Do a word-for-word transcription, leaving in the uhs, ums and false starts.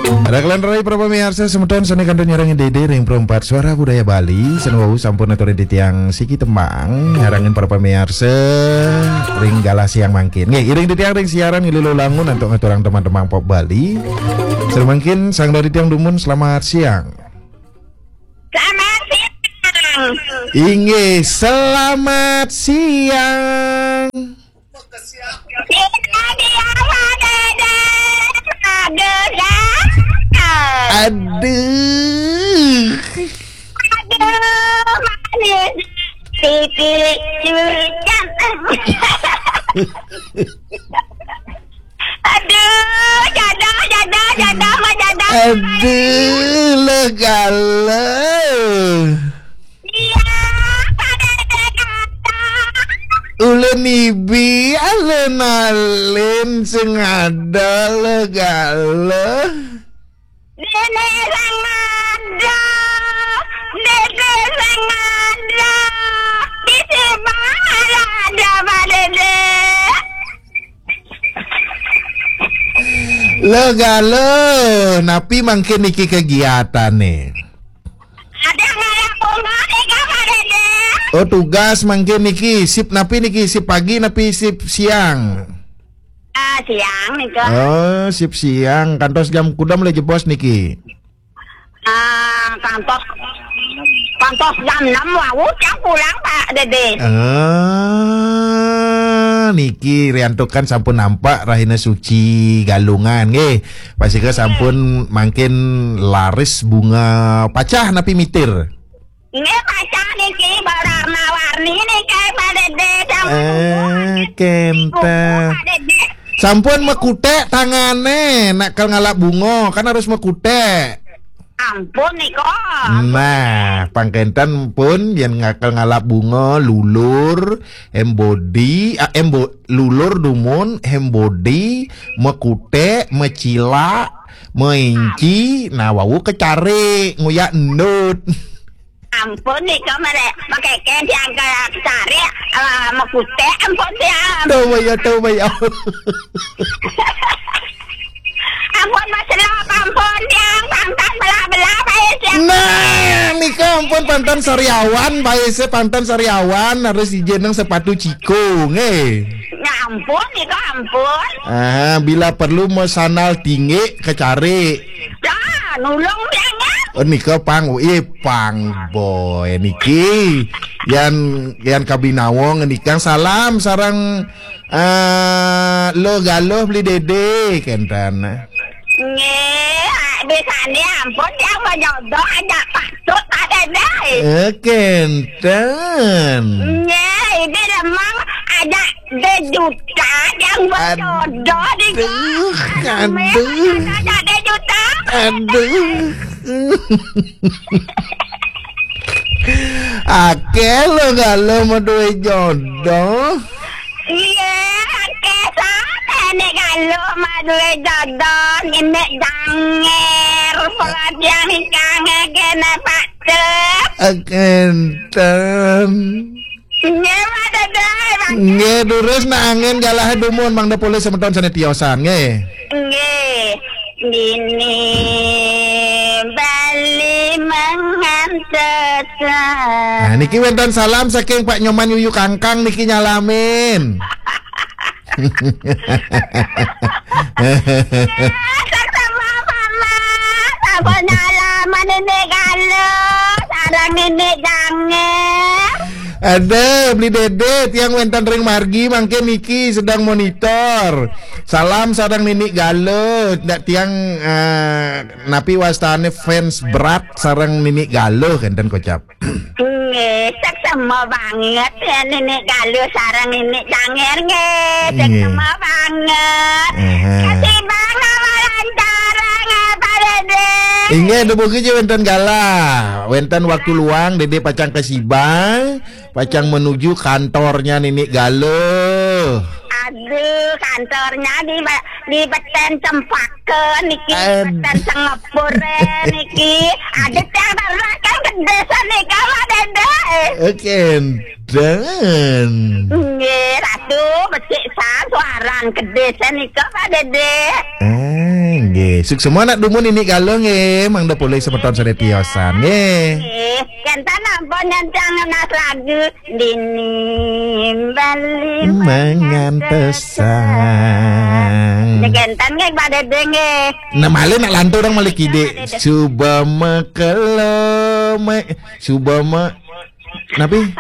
Raglan rai para pamiarsa semeton sane kantun nyarengin Dede ring Perempat Suara Budaya Bali, sane wau sampun aturin titiang siki tembang nyarengin para pamiarsa ring galah siang mangkin. Nggih, iring titiang ring siaran ngilu langun antuk ngaturang tembang-tembang pop Bali. Sane mangkin sang dari tiang dumun selamat siang. Selamat siang. Inggih, selamat siang. Kita dia ada, ada, ada, ada. Aduh. Aduh, manis. Siti cucang. Aduh, jadah, jadah, jadah, mah jadah. Aduh, legala. Iya, pada ada kata. Ulun ibi, alun-alun sing ada legala. Dede sing ada, dede sing ada. Di sibah ada, Pak Dede. Legala, napi mangkin niki kegiatane? Ada ngalap bunga nika, Pak Dede. Oh, tugas mangkin niki. Sip napi niki? Sip pagi napi sip siang? Ah, siang nika. Oh, sip siang. Kantos jam kudam le jebos niki? Ah, kantos, kantos jam enam wau tiang pulang, Pak Dede. Ah, niki riantukan sampun nampak Rahina Suci Galungan nggih. Pasika sampun mangkin laris bunga pacah napi mitir? Nggih, pacah niki, berwarna-warni niki, Pak Dede. Sampun eh, kenten. Pak Dede. Sampun mekutek tangane, nak kal ngalap bunga, kan harus mekutek. Ampun nika. Nah, pangkenten pun yen ngakal ngalap bunga, lulur, embodi, ah, embo, lulur dumun, embodi, mekutek, mecilak, meinci, nah wau kecari, nguyak endut. Ampun nika mere, makeken tiang kecari, ah, mekutek, ampun tiang. Tuh, ya, tuh, ya. Ampun, Mas Lop, ampun, tiang pangtan belah-belah, bae, tiang. Nah, nika ampun pangtan sariawan, bae, se pangtan sariawan, harus ijeneng sepatu ciko, nggih. Ya ampun, nika ampun. Ah, bila perlu mau sandal tinggi kecari. Dah, nulung tiang, ya. Oh, nika pang, eh, pang boy niki. Yan, yan kabinawa ngenikang salam sareng Ah, lo galuh beli dede, kenten. Nggih, bisane ampun yang menjodoh aja patut ada deh. Eh, kenten. Nggih, ini lemang aja dejuta yang berjodoh di aduh, aduh. Aja dejuta. Aduh. Akeh lo galuh mau duwe jodoh. Iya, akeh sane nek galuh mah duwe jodoh, nenek janger, perhatian kang kena patut. Kenten. Nyewa dede, Bang. Nggih, durus nak angin galah dumun, mangda polih semeton sane tiosan, nggih. Nggih. Dini Bali mangantosan. Nah, niki wenten salam saking Pak Nyoman Yuyu Kangkang niki nyalamin. Sesama mama, sampun nyalaman ini galuh, sareng ini janger. Ada beli dede tiang wenten ring margi mangke niki sedang monitor. Salam sareng Nini Galuh, ndak tiang eh, napi wastane fans berat sareng Nini Galuh kenten kocap. Nggih, seksema banget ya Nini Galuh sareng Nini Janger nggih, seksema banget. Aha. Ketimbang nama lantaran apa dede? Inggih, dubuh je wenten galah, wenten waktu luang dede pacang kesiba. Pacang menuju kantornya Nini Galuh. Aduh, kantornya di di Beten Cempaka niki, Beten Singapura niki. Ada tiang ternak kan gede sanika mah dede. Oke. Eden. Nggih, Ratu, becik san suaran kedis nika, Pak Dede. Ah, nggih. Suksma nak dumun ini kala nggih, mangda polih semeton sare tiosan nggih. Nggih, kenten ampun nyancang nas lagu Dini Bali Mangan pesan. Nggih, kenten nggih, Pak Dede nggih. Nah, malih nak lantur dong malih kidik. Suba makelo, ma-, suba ma-, napi?